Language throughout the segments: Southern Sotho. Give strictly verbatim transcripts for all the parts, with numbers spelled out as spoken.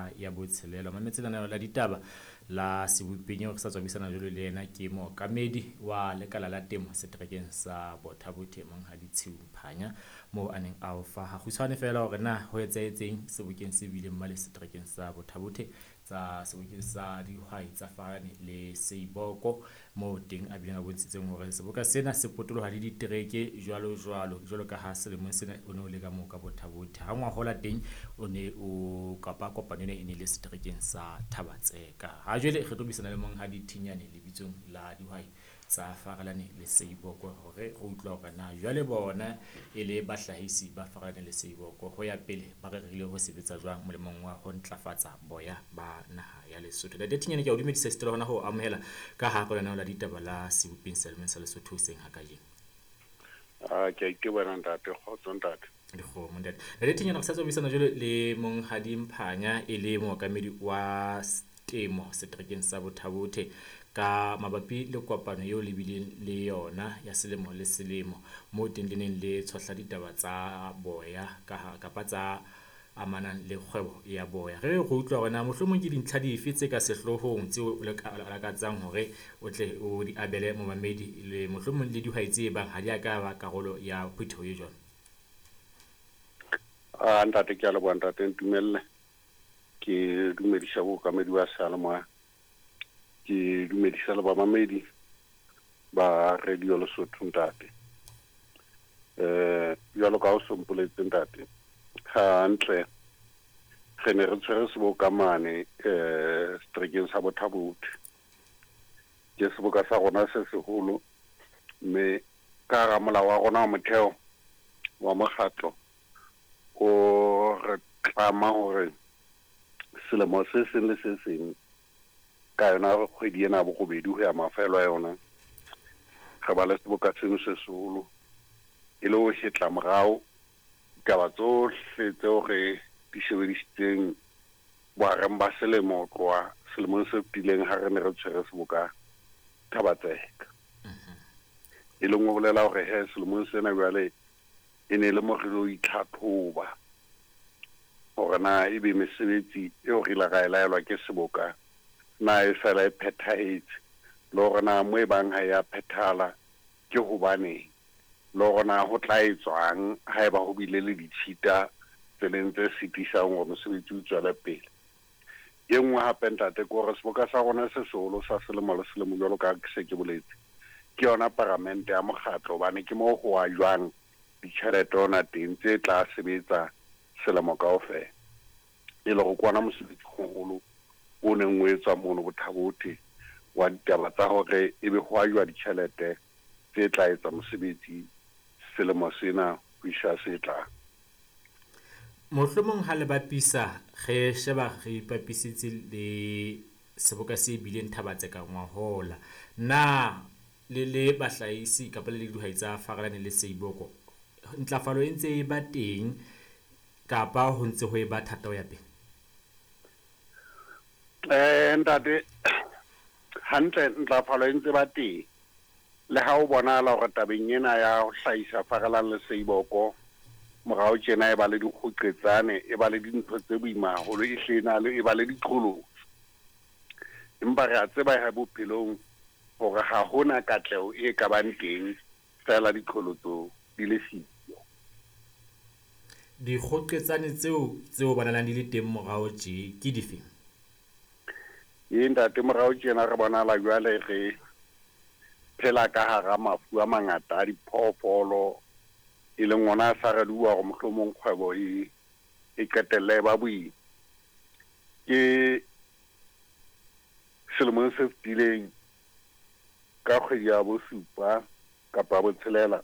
hora ya botshelela. Mametse lenaneo la ditaba la Sebopeng eo re sa tswa buisana jwalo le yena ke mookamedi wa lekala la temo seterekeng sa Botha-Bothe Monghadi Tshiu Mphanya, moo a neng a o fa hakgutshwane feela hore na ho etsahetseng sebokeng se bileng male seterekeng sa Botha-Bothe tsa sebokeng sa dihwai tsa Farane le Seiboko, moo teng a bileng a bontshitseng hore seboka sena se potoloha le ditereke jwalo jwalo, jwalo ka ha selemong sena o ne o le ka moo ka Botha-Bothe. Ha ngwahola teng o ne o kapa kopano ena e ne le seterekeng sa Thaba-Tseka. Ha jwale re tlo buisana le Monghadi Thinyane lebitsong la dihwai tsa Farelane le Seiboko hore re utlwe hore na jwale bona e le bahlahisi ba Farelane le Seiboko ho ya pele ba rerile ho sebetsa jwang molemong wa ho ntlafatsa boya ba naha ya Lesotho. Ntate Thinyane, ke a o dumedisa esita le hona ho amohela ka hare ho lenaneo la ditaba la Sebopeng selemeng sa Lesotho hoseng ha kajeno. Ah, ke a itebela ntate, kgotso ntate. Dikgomo ntate. Ntate Thinyane, re sa tswa buisana jwale le Monghadi Mphanya e le mookamedi wa temo seterekeng sa Botha-Bothe ka mabapi le kopano eo le bileng le yona ya selemo le selemo, moo teng le neng le tshohla ditaba tsa boya ka kapa tsa amanang le kgwebo ya boya. Re re utlwa hore na mohlomong ke dintlha dife tse ka sehloohong tseo o lakatsang hore o tle o di abele momamedi le mohlomong le dihwai tse bang ha di a ka ba karolo ya phutheho e jwalo. Ah, ntate, ke a leboha ntate, ntumelle ke dumedisa bookamedi ba seyalemoya, ke dumedisa le bamamedi ba Radio Lesotho ntate. Eh, jwalo ka ha o so mpoletse ntate, hantle re ne re tshwere seboka mane eh seterekeng sa Botha-Bothe. Ke seboka sa rona se seholo, mme ka hara molao wa rona wa motheo wa mokgatlo o re tlama hore selemo se seng le se seng ka yona kgwedi ena ya borobedi ho ya mafelo a yona re ba le seboka seno se seholo, e le ho hetla morao ditaba tsohle tseo re di sebedisitseng bohareng ba selemo ho tloha selemong se fetileng ha re ne re tshwere seboka Thaba-Tseka. E leng ho bolela hore he selemong sena jwale e ne le mo re lo itlhatlhoba hore na ebe mesebetsi eo re ile ra e laelwa ke seboka na e fela e phethahetse, le hore na mo e bang ha ya phethahala ke hobaneng, le hore na ho tla etswang haeba ho bile le ditshita tseleng tse sitisang hore mosebetsi o tswele pele. E nngwe hape ntate ke hore seboka sa rona se seholo sa selemo le selemo jwalo ka ke se ke boletse, ke yona paramente ya mokgatlo, hobane ke moo ho ajwang ditjhelete hona teng tse tla sebetsa selemo kaofela. E le hore ke ona mosebetsi o moholo o neng o etswa mono Botha-Bothe wa ditaba tsa hore ebe ho ajwa ditjhelete tse tla etsa mosebetsi selemo sena ho isa se tlang. Mohlomong ha le bapisa, re sheba re ipapisitse le seboka se bileng Thaba-Tseka ngwahola, na le le bahlahisi kapa le le dihwai tsa Farelane le Seiboko, ntlafalo e ntse e ba teng kapa ho ntse ho e ba thata ho ya pele? Eh, ntate, hantle ntlafalo e ntse ba teng. Le ha o bonahala hore tabeng ena ya ho hlahisa Farelane le Seiboko morao tjena e ba le dikgoqetsane, e ba le dintho tse boima haholo, e hle e na le, e ba le diqholotso. Empa re a tseba he bophelong hore ha hona katleho e ka bang teng feela diqholotso di le siyo. Dikgoqetsane tseo tseo bonahalang di le teng morao tje ke dife? Ee ntate, morao tjena re bonahala jwale re phela ka hara mafu a mangata a diphoofolo, e leng ona a sa re bua hore mohlomong kgwebo e e qetelle e ba boima. Ke selemong se fetileng ka kgwedi ya bosupa kapa botshelela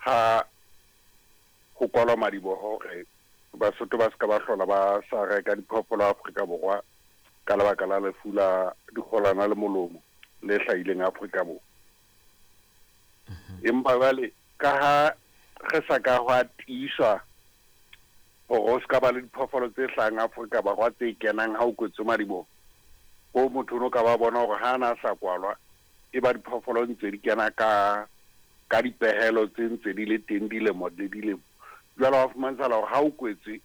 ha ho kwalwa madiboho hore Basotho ba ska ba hlola ba sa reka diphoofolo Afrika Borwa ka lebaka la lefu la dikgolana le molomo le hlahileng Afrika Borwa. Empa jwale ka ha re sa ka hwa tiiswa hore ho ska ba le diphoofolo tse hlahang Afrika Borwa tse kenang ha o kwetswe madiboho, ho motho o no ka ba bona hore ha na sa kwalwa e ba diphoofolo ntse di kena ka ka dipehelo tse ntse di le teng dilemo le dilemo. Jwale wa fumantshala hore ha o kwetswe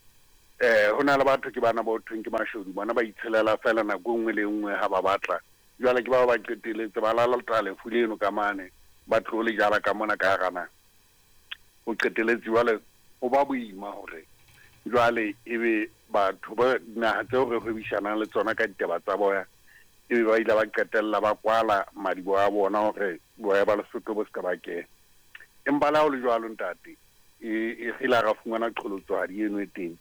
Eh ho na le batho ke bana ba thweng ke mashodu, bona ba itshelela fela nako nngwe le nngwe ha ba batla. Jwale ke ba ba qeteletse ba lalata lefu leno ka mane, ba tlo le jala ka mona ka hara naha. O qeteletse jwale ho ba boima hore jwale ebe batho ba naha tseo re hwebishanang le tsona ka ditaba tsa boya, ebe ba ile ba qetella ba kwala madiboho a bona hore boya ba Lesotho bo se ka ba kena. Empa le ha ho le jwalo ntate, e e re ile ra fumana qholotsohadi eno e teng.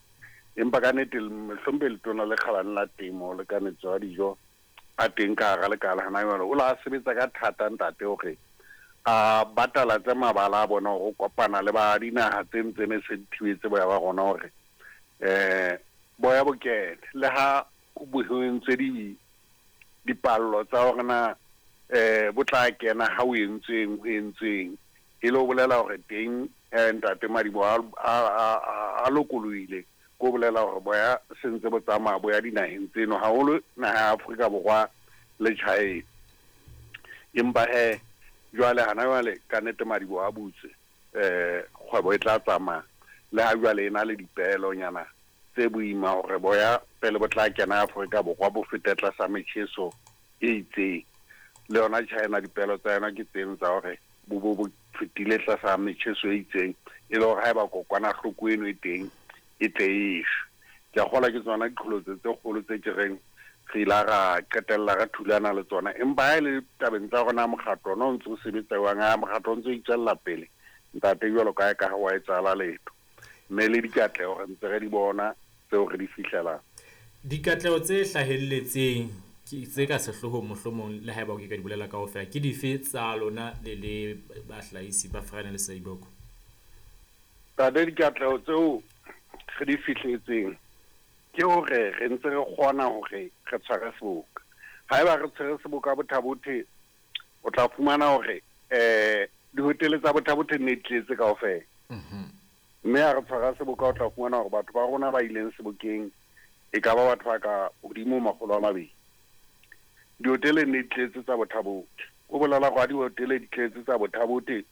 Empa ka nnete mohlompe letona le kgabane la temo le kanetso ya dijo a teng ka hara lekala hana jwale, o la sebetsa ka thata ntate hore a batalatse mabala a bona hore o kopana le ba dinaha tse ntse ne se di thibetse boya ba rona hore eh boya bo kene. Le ha ho entswe di dipallo tsa hore na eh bo tla kena ha o entsweng ho entsweng, e le ho bolela hore teng ntate madiboho a a lokolohile, ko bolela hore boya se ntse bo tsamaya bo ya dinaheng tseno, haholo naha ya Afrika Borwa le China. Empa he jwale hana jwale ka nnete madiboho a butswe, eh kgwebo e tla tsamaya. Le ha jwale e na le dipeelonyana tse boima hore boya pele bo tla kena Afrika Borwa bo fete tlasa metjheso e itseng. Le yona China dipeelo tsa yona ke tseno tsa hore bo bo bo fetile tlasa metjheso e itseng, e le hore haeba kokwanahloko eno e teng e tle e shwe. Ke a kgolwa ke tsona diqholotso tse kgolo tse ke reng re ile ra qetella re thulana le tsona. Empa ha e le tabeng tsa rona mokgatlo ona o ntso o sebetsa jwang, ha mokgatlo o ntso o itswella pele ntate jwalo ka ka ha wa etsahala letho, mme le dikatleho re ntse re di bona tseo re di fihlelang. Dikatleho tse hlahelletseng tse ka sehloohong mohlomong le haeba o ke ka di bolela kaofela, ke dife tsa lona le le bahlahisi ba Farane le Seiboko? Ntate, dikatleho tseo re di fihletseng ke hore re ntse re kgona hore re tshware seboka. Haeba re tshwere seboka Botha-Bothe, o tla fumana hore eh dihotele tsa Botha-Bothe ne di tletse kaofela. Mme ha re tshwara seboka o tla fumana hore batho ba rona ba ileng sebokeng e ka ba batho ba ka hodimo makgolo a mabedi. Dihotele ne di tletse tsa Botha-Bothe. O bolela hore ha dihotele di tletse tsa Botha-Bothe,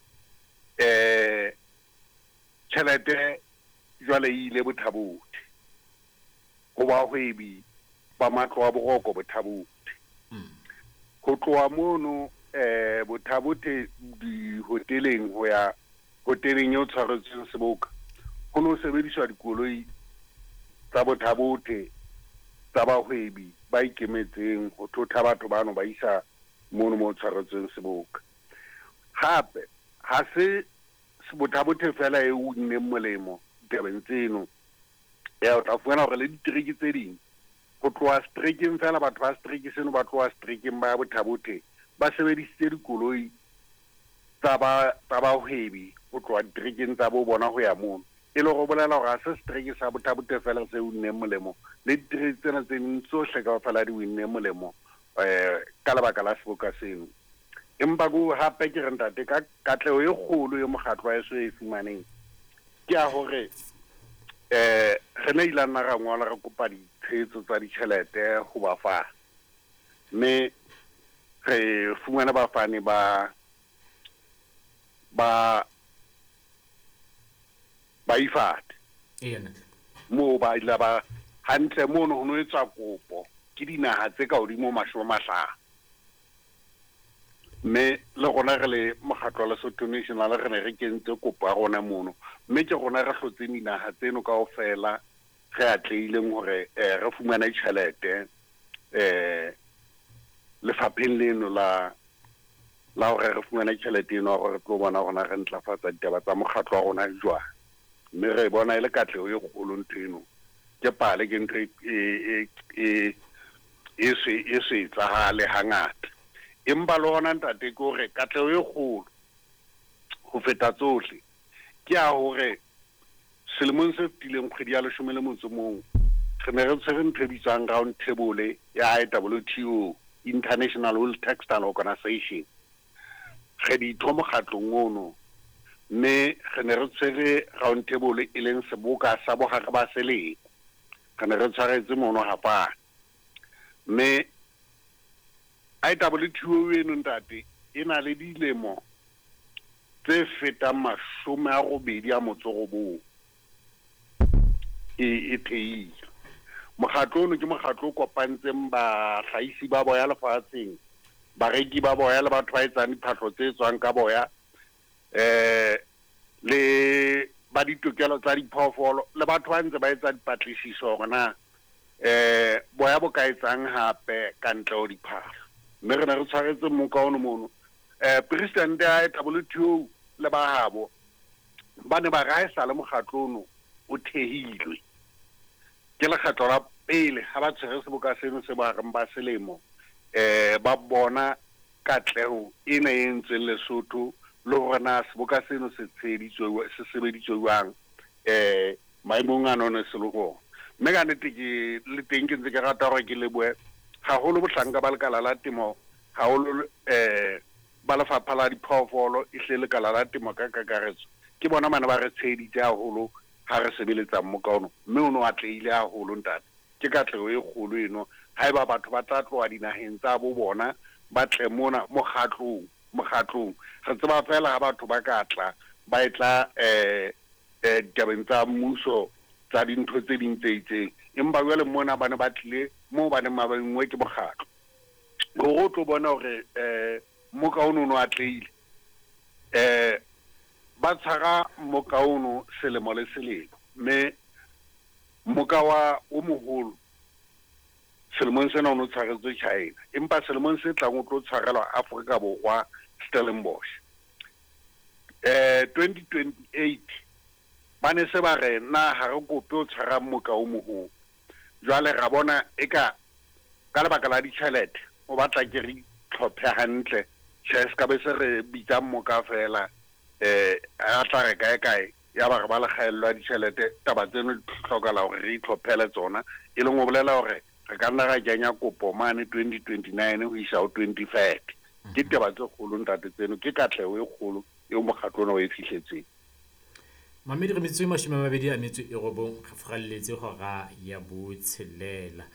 eh tjhelete jwale e ile Botha-Bothe ho bahwebi ba matlo a boroko Botha-Bothe. Ho tloha mono eh Botha-Bothe dihoteleng ho ya hoteleng eo tshwaretsweng seboka, ho no sebediswa dikoloi tsa Botha-Bothe tsa bahwebi ba ikemetseng ho thotha batho bano ba isa mono mo tshwaretsweng seboka. Hape ha se Botha-Bothe fela e unneng molemo ditabeng tseno, ya o tla fumana hore le ditereke tse ding ho tloha seterekeng fela, batho ba setereke seno ba tloha seterekeng ba ya Botha-Bothe ba sebedisitse dikoloi tsa ba tsa bahwebi ho tloha diterekeng tsa bo bona ho ya mono. E le hore bolela hore ha se setereke sa Botha-Bothe fela se unneng molemo, le ditereke tsena tse ding tsohle kaofela di unneng molemo eh ka lebaka la seboka seno. Empa ko hape ke re ntate, ka katleho e kgolo e mokgatlo wa heso e fumaneng ke ya hore eh re ne ile nna ra ngola re kopa ditshehetso tsa ditjhelete ho bafani, mme re fumana bafani ba ba ba ifate moo ba ile ba hantle mono ho no etswa kopo ke dinaha tse ka hodimo mashome a mahlano. Mme le rona re le mokgatlo wa Lesotho National re ne re kentse kopo ya rona mono, mme ke rona re hlotseng dinaha tseno kaofela re atlehileng hore re fumane tjhelete eh lefapheng leno la la hore re fumane tjhelete eno hore re tlo bona hore re ntlafatsa ditaba tsa mokgatlo wa rona jwang. Mme re bona e le katleho e kgolo ntho eno, ke pale ke ntho e e e e se e se etsahale hangata. Empa le hona ntate ke hore katleho e kgolo ho feta tsohle ke ya hore selemong se fetileng kgwedi ya leshome le motso mong re ne re tshwere ntho e bitswang round table ya I W T O, International Wool Textile Organization. Re ditho mokgatlong ono, mme re ne re tshwere round table e leng seboka sa bohare ba selemo. Re ne re tshwaretse mono Hapane, mme I W T O eno ntate e na le dilemo tse fetang mashome a robedi a motso robong. e e theilwe. Mokgatlo ono ke mokgatlo o kopantseng bahlahisi ba boya lefatsheng, bareki ba boya le batho ba etsang diphahlo tse tswang ka boya, eh le ba ditokelo tsa diphoofolo le batho ba ntse ba etsa dipatlisiso hore na eh boya bo ka etsang hape ka ntle ho diphahlo. Mme re ne re tshwaretse mmoka ono mono. Eh president ya W T O le ba habo ba ne ba re haesale mokgatlo ono o thehilwe. Ke lekgetlo la pele ha ba tshwere seboka seno se bohareng ba selemo, eh ba bona katleho ena e entsweng Lesotho le hore na seboka seno se tsheheditswe se sebeditswe jwang eh maemong ano ne se le hona. Mme ka nnete ke le teng ke ntse ke rata hore ke lebohe haholo bohlanka ba lekala la temo, haholo eh ba lefapha la diphoofolo, ehle lekala la temo ka kakaretso. Ke bona mane ba re tsheheditse haholo ha re sebeletsa mmoka ono, mme ono atlehile haholo ntate. Ke katleho e kgolo eno haeba batho ba tla tloha dinaheng tsa bo bona ba tle mona mokgatlong mokgatlong. Re tseba fela ha batho ba ka tla ba e tla eh eh ditabeng tsa mmuso tsa dintho tse ding tse itseng, empa jwale mona ba ne ba tlile moo ba neng ba bengwe ke mokgatlo hore o tlo bona hore eh mmoka ono ono atlehile. Eh ba tshwara mmoka ono selemo le selemo, mme mmoka wa o moholo selemong sena o no tshwaretswe China, empa selemong se tlang o tlo tshwarelwa Afrika Borwa Stellenbosch. Eh twenty twenty-eight ba ne se ba re na ha re kope o tshwara mmoka o moholo. Jwale ra bona eka ka lebaka la ditjhelete o batla ke re tlhophe hantle, tjhe se ka be se re bitsa mmoka fela eh a tla re kae kae ya ba re ba le kgaello ya ditjhelete. Taba tseno di hlokahala hore re itlhophele tsona, e leng ho bolela hore re ka nna ra kenya kopo mane twenty twenty-nine ho isa ho twenty thirty. Ke taba tse kgolo ntate tseno, ke katleho e kgolo eo mokgatlo ona o e fihletseng. Mamedi re metsotso e mashome a mabedi a metso e robong re furalletse hora ya botshelela.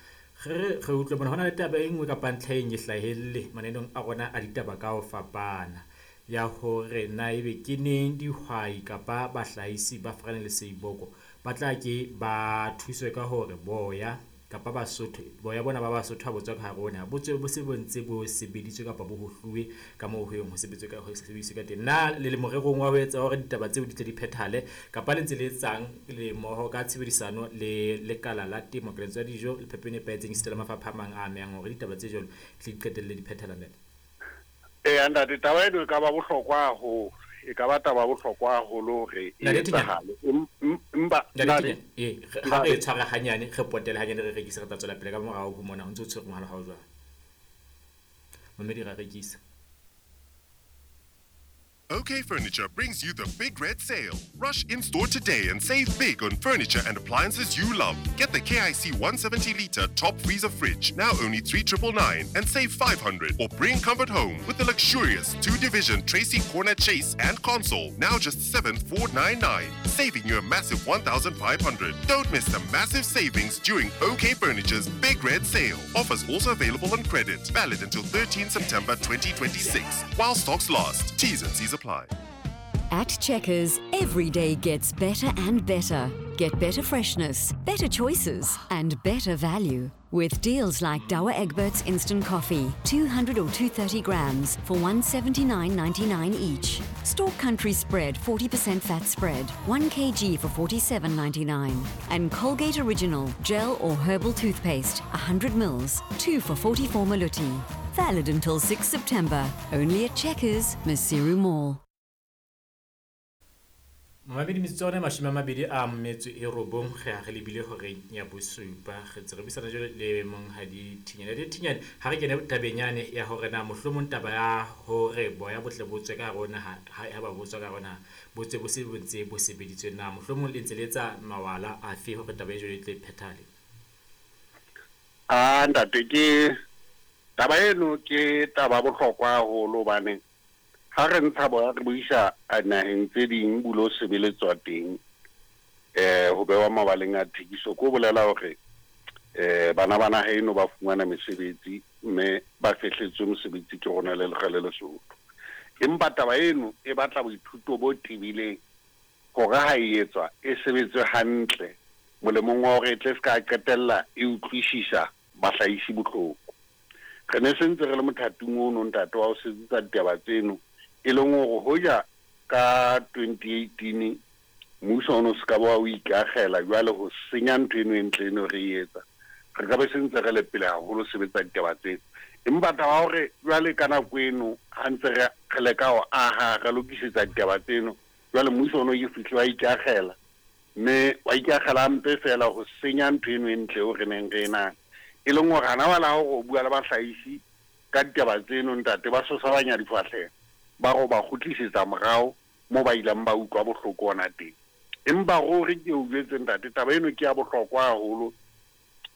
Re re utlwe bona hona le taba e nngwe kapa ntlha e nngwe e hlahelle mananeong a rona a ditaba ka ho fapana ya hore na ebe ke neng dihwai kapa bahlahisi ba Farane le Seiboko ba tla ke ba thuswe ka hore boya kapa Basotho boya bona ba Basotho ha bo tswa ka hare ho naha bo tswe bo se bo ntse bo sebeditswe kapa bo hohluwe ka moo ho yeng ho sebetswe ka ho sebediswe ka teng. Na le le morerong wa ho etsa hore ditaba tseo di tle di phethahale kapa le ntse le etsang le mmoho ka tshebedisano le lekala la temo, keletso ya dijo le phepo e nepahetseng esita le mafapha a mang a amehang hore ditaba tse jwalo di tle di qetelle di phethahala ntate? Eh ntate, taba eno e ka ba bohlokwa haholo, e ka ba taba bohlokwa haholo hore e etsahale. Empa ntate, eh ha re tshwara hanyane re potele hanyane re rekise re tla tswela pele ka morao ho mona ho ntse o tshwere mohala hao jwang. Mamedi ra rekisa. OK Furniture brings you the Big Red Sale. Rush in-store today and save big on furniture and appliances you love. Get the K I C one seventy litre top freezer fridge, now only three triple nine, and save five hundred. Or bring comfort home with the luxurious two-division Tracy Corner Chase and console, now just seven four nine nine, saving you a massive one thousand five hundred. Don't miss the massive savings during OK Furniture's Big Red Sale. Offers also available on credit. Valid until thirteenth September twenty twenty-six. While stocks last. T's and C's apply. At Checkers, every day gets better and better. Get better freshness, better choices, and better value. With deals like Douwe Egberts Instant Coffee, two hundred or two thirty grams for one seventy-nine ninety-nine each. Stork Country Spread forty percent fat spread, one kilogram for forty-seven ninety-nine. And Colgate Original Gel or Herbal Toothpaste, a hundred mils, two for forty-four maluti. Valid until sixth September. Only at Checkers, Maseru Mall. Mamedi metsotso yona e mashome a mabedi a metso e robong re a re lebile horeng ya bosupa. Re ntse re buisana jwale le monghadi Thinyane. Le Thinyane, ha re kene tabeng yane ya hore na mohlomong taba ya hore boya bo tle bo tswe ka hare ho naha, ha ba bo tswa ka hare ho naha, bo tswe bo se bo ntse bo sebeditswe na mohlomong le ntse le etsa mawala afe hore taba e jwalo e tle e phethahale? Ah ntate, ke taba eno ke taba bohlokwa haholo hobane ha re ntsha boya re bo isa naheng tse ding bo lo sebeletswa teng, eh ho bewa mabaleng a thekiso, ko bolela hore eh bana ba naha eno ba fumana mesebetsi mme ba fehletswe mosebetsi ke rona le lekgale Lesotho. Empa taba eno e batla boithuto bo tebileng hore ha e etswa e sebetswe hantle Molemong wa hore e tle se ka qetella e utlwisisa bahlahisi bohloko. Re ne se ntse re le mothating ono ntate wa ho sebetsa ditaba tseno, e leng hore hoja ka twenty eighteen mmuso ono se ka ba o ikakgela jwale ho senya ntho eno e ntle eno re e etsa, re ka be se ntse re le pele haholo sebetsa ditaba tseno. Empa taba ya hore jwale ka nako eno ha ntse re re leka ho aha re lokisetsa ditaba tseno, jwale mmuso ono ke fihle wa ikakgela, mme wa ikakgela hampe feela ho senya ntho eno e ntle eo re neng re e nang. E leng hore hana wala hore o bua le bahlahisi ka ditaba tseno ntate, ba sosabanya difahleho, ba re o ba kgutlisetsa morao moo ba ileng ba utlwa bohloko hona teng. Empa ruri ke o jwetse ntate, taba eno ke ya bohlokwa haholo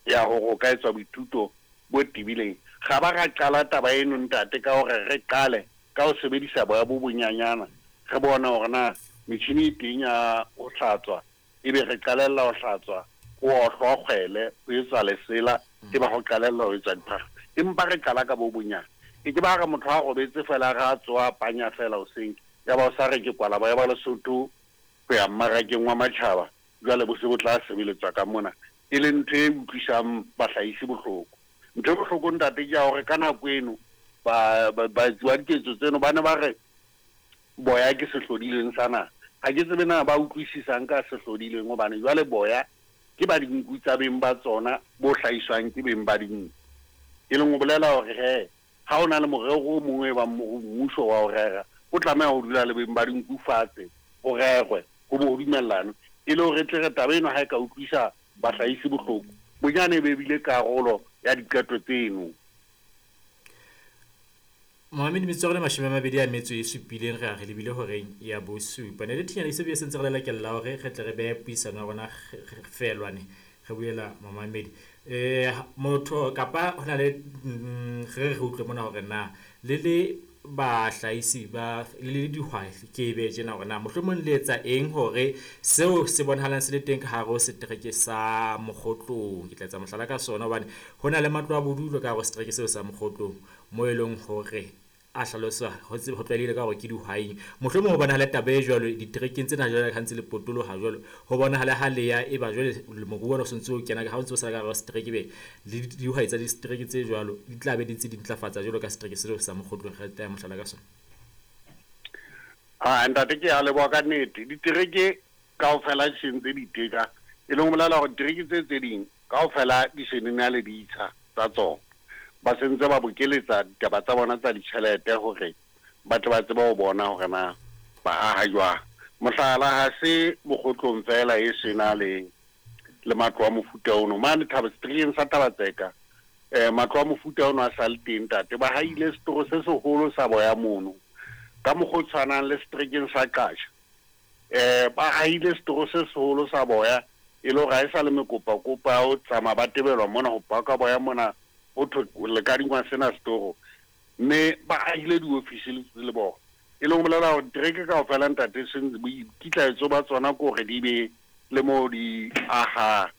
ya hore o ka etswa boithuto bo tebileng. Ga ba ra qala taba eno ntate ka hore re qale ka ho sebedisa boya bo bonyanyana, re bone hore na metjhini e teng ya ho hlatswa, ebe re qalella ho hlatswa, ho ohlwa kgwele, ho etswa lesela, e ba ho qalella ho etswa diphahlo. Empa re qala ka bo bonyane. E ke ba re motho ha robetse feela re a tsoha panya feela hoseng, ya ba o sa re ke kwala boya ba Lesotho ho ya mmarakeng wa matjhaba, jwale bo se bo tla sebeletswa ka mona, e leng ntho e utlwisang bahlahisi bohloko. Ntho e bohloko ntate ke ya hore ka nako eno ba baetsi ba diketso tseno ba ne ba re boya ke sehlodileng sa naha. Ha ke tsebe na ba utlwisisang ka sehlodileng, hobane jwale boya ke ba dinku tsa beng ba tsona bo hlahiswang ke beng ba dinku. E leng ho bolela hore he ha o na le morero o mongwe ba mmuso wa ho rera, o tlameha ho dula le beng ba dinku fatshe, ho rerwe, ho bo ho dumellane, e le hore tle re taba eno ha e ka utlwisa bahlahisi bohloko, bonyane e be bile karolo ya diqeto tseno. Mohammed metsotso le mashome a mabedi a metso e supileng re a re lebile horeng ya bosupa. Ne le Thinyane se bue sentse re lelekella hore re tle re behe puisano ya rona felwane re buela Mohammed. Eh motho kapa hona le re re utlwe mona hore na le le bahlahisi ba le dihwai ke be tjena hore na mohlomong le etsa eng hore seo se bonahalang se le teng ka hare ho setereke sa Mokgotlong. Ke tla etsa mohlala ka sona hobane ho na le matlo a bodulo ka hare ho setereke seo sa Mokgotlong mo e leng hore a hlaloswa ho tsebe ho tlwaelehile ka hore ke dihwai. Mohlomong ho bonahala taba e jwalo diterekeng tsena jwale ha ntse le potoloha jwalo, ho bonahala ha le ya e ba jwale moruo o sentse o kena ha o ntse o sala ka hare ho setereke be le dihwai tsa disetereke tse jwalo di tla be di ntse di ntlafatsa jwalo ka setereke seo sa Mokgotlong. Re tla mohlala ka sona. Ah ntate ke a leboha ka nnete. Ditereke kaofela di sentse di iteka, e leng ho bolela hore ditereke tse tse ding kaofela di se na le ditsha tsa tsona. Ba sentse ba bokeletsa ditaba tsa bona tsa ditjhelete hore ba tle ba tsebe ho bona hore na ba aha jwang. Mohlala ha se Mokgotlong feela e sena le le matlo a mofuta ono. Mane Thaba seterekeng sa Tabatseka, eh matlo a mofuta ono a sa le teng ntate. Ba haile setoro se seholo sa boya mono. Ka mokgwa o tshwanang le seterekeng sa Qasha, eh ba haile setoro se seholo sa boya, e le hore ha e sa le mekopakopa ya ho tsamaya ba tebelwa mona ho paka boya mona, ho thwe le kadingwa sena setoro, mme ba ahile diofisi le bona. E leng ho bolela hore ditereke kaofela ntate boikitlaetso ba tsona ke hore di be le moo di aha.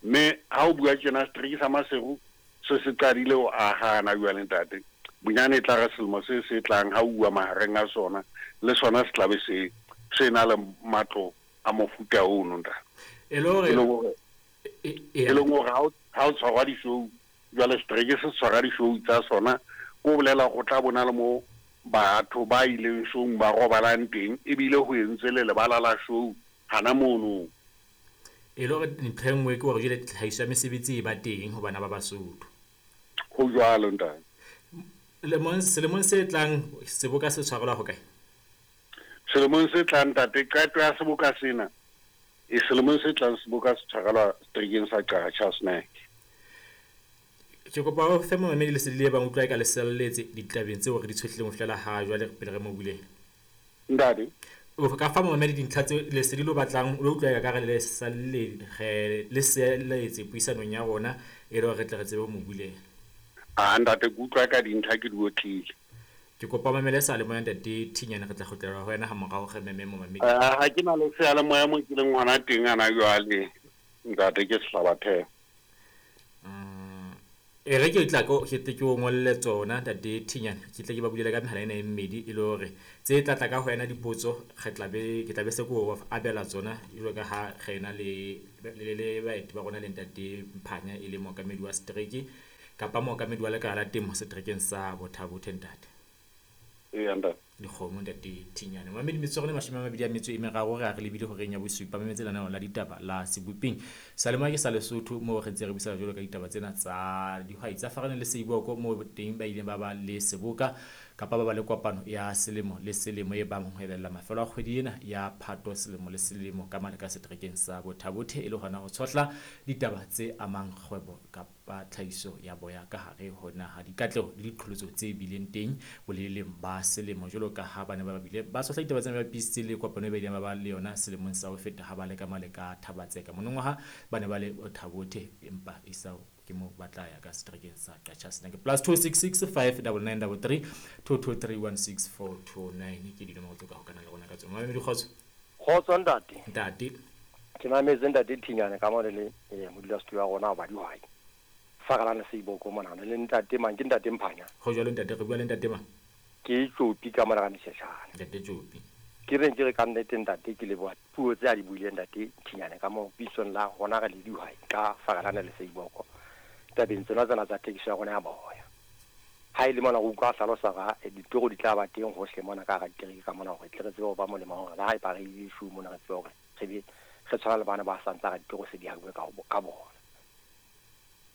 Mme ha o bua tjena setereke sa Maseru se se qadile ho aha hana jwale ntate. Bonyane e tla re selemo se se tlang ha uwa mahareng a sona, le sona se tla be se se na le matlo a mofuta ono ntate. E le hore e leng hore ha o tshwarwa di-show jwale setereke se tshwara di-show tsa sona, ko bolela go tla bona le mo batho ba ileng showng ba robalang teng, ebile ho entswe le lebala la show hana mono. E le hore ntho e nngwe ke hore jwale tlhahiso ya mesebetsi e ba teng ho bana ba Basotho. Ho jwalo ntate. Lemong selemong se tlang seboka se tshwarelwa ho kae? Selemong se tlang ntate, qeto ya seboka sena e selemong se tlang seboka se tshwarelwa seterekeng sa Qacha's Nek. Ke kopa o fe momamedi lesedi le bang utlwa ka leselletse ditabeng tseo re di tshohlileng ho fihlela ha jwale pele re mo buleng. Ntate, o ka fa momamedi dintlha tse lesedi lo batlang lo utlwa ka re le salle re le selletse puisanong ya rona e le hore re tle re tsebe ho mo bulela. Ah ntate ke utlwa ka dintlha ke di otlile. Ke kopa mamele sa le moya ntate Thinyane, re tla kgutlela ho wena ha morao re meme momamedi. Ah ha ke na le seyalemoya mo ke leng hona teng ana jwale ntate ke Sehlabatheo. Mm. E re ke tla ko ke tle ke o ngolle tsona ntate Thinyane, ke tle ke ba bulele ka mehala ena e mmedi e le hore tse tla tla ka ho wena dipotso re tla be ke tla be se ko abela tsona jwalo ka ha re ena le le le baeti ba rona le ntate Mphanya e le mookamedi wa setereke kapa mookamedi wa lekala la temo seterekeng sa Botha-Bothe ntate. Eya ntate. Dikgomo ntate Thinyane. Mamedi metsotso e mashome a mabedi a metso e meraro re a re lebile horeng ya bosupa mametse lenaneo la ditaba la Seboping. Salemoya ke sa Lesotho moo re ntse re buisana jwalo ka ditaba tsena tsa dihwai tsa Faraneng le Seiboko moo teng ba ileng ba ba le seboka kapa ba ba le kopano ya selemo le selemo e bang ho ebella mafelo a kgwedi ena ya Phato selemo le selemo ka mane ka seterekeng sa Botha-Bothe e le hona ho tshohla ditaba tse amang kgwebo kapa tlhahiso ya boya ka hare ho naha, dikatleho le diqholotso tse bileng teng boleleng ba selemo jwalo ka ha ba ne ba bile ba tshohla ditaba tsena ba bapisitse le kopano e ba ileng ba ba le yona selemong sa ho feta ha ba le ka male ka Thabatseka. Monongwaha ba ne ba le Botha-Bothe empa isao ke mo ba tla ya ka seterekeng sa Qacha's Nek. Plus two six six five nine nine three three two two three one six four two nine ke dinomoro tse ka hokana le rona ka tsona. Mamedi kgotso. Kgotso ntate. Ntate. Ke mametse ntate Thinyane ka mona le eh modulasetulo wa rona wa dihwai. Fakalana Seiboko mona le ntate mang ke ntate Mphanya. Ho jwalo ntate, re bua le ntate mang? Ke Tjopi ka mona ka Mesheshane. Ntate Tjopi. Ke reng ke re ka nnete ntate ke leboha puo tse a di buileng ntate Thinyane ka mo pitsong la rona re le dihwai ka Fakalana le Seiboko. Tabeng tsena tsena tsa thekiso ya rona ya boya. Ha e le mona go utlwa hlalosa ga ditoro di tla ba teng hohle mona ka ga dikereke ka mona hore tle re tsebe ho ba molemo hore le ha e ba re issue mona re tsebe hore re be re tshwana le bana ba sa ntsa ga ditoro se di habuwe ka ka bona.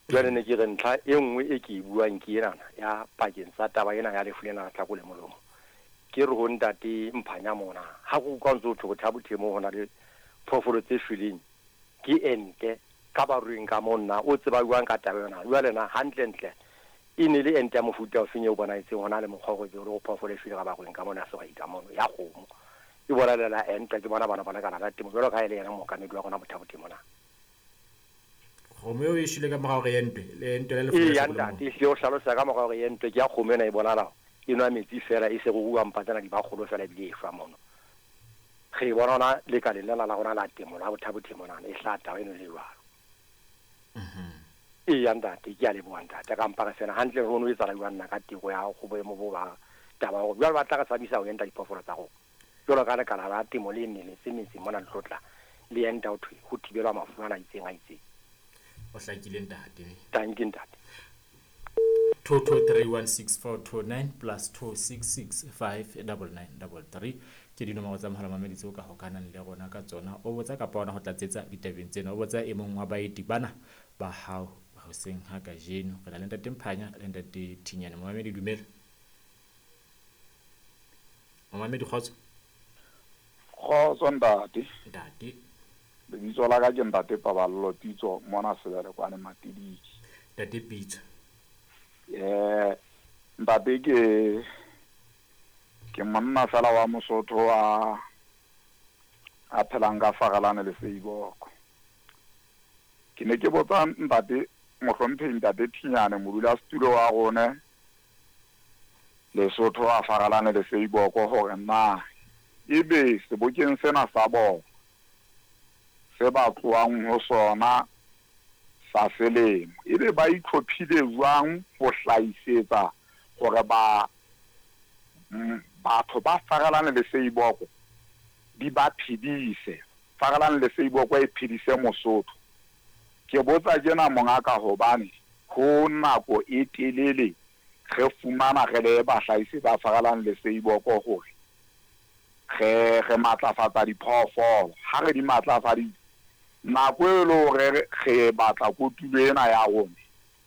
Jwale ne ke re ntlha e nngwe e ke e buang ke enana ya pakeng tsa taba ena ya lefu lena la tlhako le molomo. Ke re ho ntate Mphanya mona ha go utlwa ntse o thwe Botha-Bothe mo ho na le phoofolo tse shweleng ke ente ka baruing ka monna o tseba jwang ka taba yona. Jwale na hantle ntle e ne le ente ya mofuta o feng eo bonahetseng hona le mokgwa o go phoofolo e shwele ka baruing ka mona sehwai ka mono ya kgomo e bolelela ente ke bona bana ba lekala la temo jwalo ka ha e le yena mookamedi wa rona Botha-Bothe mona. Kgomo eo e shwele ka mora hore e entwe le entwe le lefu la tlhako le molomo. Ntate e hlalosa ka mora hore e entwe ke ya kgomo ena e bonahala e nwa metsi fela e se go rua mpa tsena di ba kgolo fela ebile e shwa mono. Re e bona hona lekaleng lena la rona la temo la Botha-Bothe mona e hlaha taba eno le jwalo. Eya ntate ke a leboha ntate ka mpa re sena hantle re ono etsahala jwang nna ka teko ya go boemo bo ba taba hore jwale ba tla re tshabisa ho enta diphoofolo tsa rona jwalo ka lekala la temo le nne le se metseng mona le tlotla le enta ho thwe ho thibelwa mafu ana a itseng a itseng. O hlakile ntate. Tanki ntate. two two three one six four two nine plus two six six five nine nine three three ke dinomoro tsa mohala mamedi tseo ka hokanang le rona ka tsona. O botsa kapa ona ho tlatsetsa ditabeng tsena, o botsa e mong wa baeti bana ba hao hoseng ha kajeno. Re na le ntate Mphanya le ntate Thinyane. Momamedi dumela. Momamedi kgotso. Kgotso ntate. Ntate. Lebitso la ka ke ntate Paballo Pitso mona Sebele kwane Matidiki. Ntate Pitso. Eh ntate ke ke monna fela wa Mosotho a a phelang ka Fagalane le Seiboko. Ke ne ke botsa ntate mohlomphehi ntate Thinyane modulasetulo wa rona Lesotho a Fagalane le Seiboko hore na ebe sebokeng sena sa bona se ba tlohang ho sona sa selemo ebe ba itlhophile jwang ho hlahisetsa hore ba batho ba Fagalane le Seiboko di ba phedise, Fagalane le Seiboko e phedise Mosotho. Ke botsa tjena mongaka hobane ho nako e telele re fumana re le bahlahisi ba Fagalane le Seiboko hore re re matlafatsa diphoofolo. Ha re di matlafaditse nako e le hore re batla kotulo ena ya rona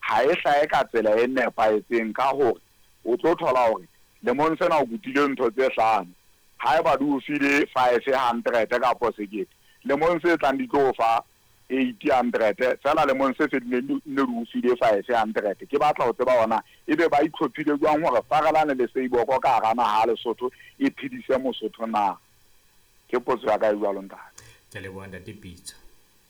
ha e hlahe ka tsela e nepahetseng, ka hore o tlo thola hore lemong sena o kutile ntho tse hlano, haeba di o file five hundred kapo sekete, lemong se tlang di tlo fa eight hundred fela lemong se fetileng ne di o file five hundred. Ke batla ho tseba hona ebe ba itlhophile jwang hore Fagalane le Seiboko ka hara naha ya Lesotho e phedise Mosotho na? Ke potso ya ka e jwalo ntate. Ke leboha ntate Pitso.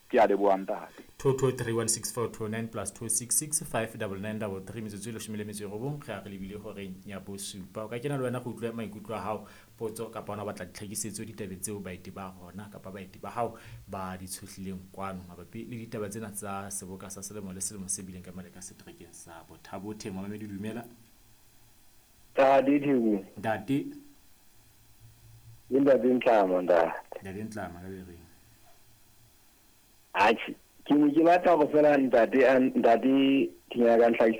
Ke a leboha ntate. Two two three one six four two nine plus two six six five double nine double three metsotso e leshome le metso e robong re a re lebile horeng ya bosupa. O ka kena le wena go utlwa maikutlo a hao, potso kapa ona o batla ditlhakisetso ditabeng tseo baeti ba rona kapa baeti ba hao ba di tshohlileng kwano mabapi le ditaba tsena tsa seboka sa selemo le selemo se bileng ka mane ka seterekeng sa Botha-Bothe. Momamedi dumela. Ntate Theko. Ntate. Ke Ntate Ntlama ntate. Ntate Ntlama ka bereng. Atjhe, ke ne ke batla go fela ntate ntate Thinyane ka ntlhakise